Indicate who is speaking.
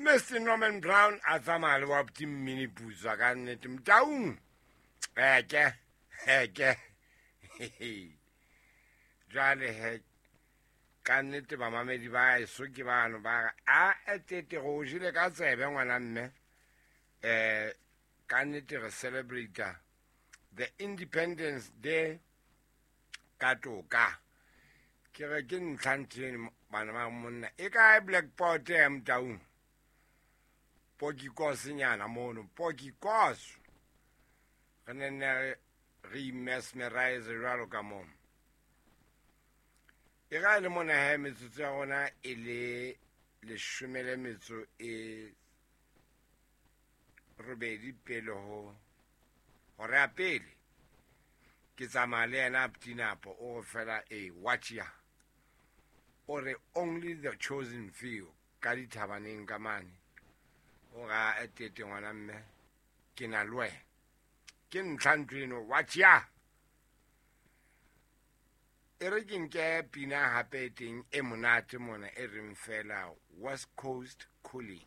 Speaker 1: Mr Norman Brown a tsamaya le wa mmini putswa ka nnete Motaung. Eke eke jwale he ka nnete bamamedi ba eso ke bano ba re a etete go o jele ka tsebe ngwana mme. Ka nnete re celebrate the Independence Day ka toka. Ke re ke ntlha ntho bana ba monna e kae blackboard ya Motaung? Pokikosenyana mono, pokikos. Re ne ne re mesmerize jwalo ka moo. E ga e le mona he metsotso ya rona e le 18 pele ho hora ya pele. Ke tsamaya le yena Ptinapo o re fela e watch ya. O re only the chosen few ka dithabaneng ka mane. O ra etete ngwana mme ke na le wena. Ke ntlha ntho eno watch ya. E re ke nke pina hape e teng e monate mona e reng fela West Coast Cooling.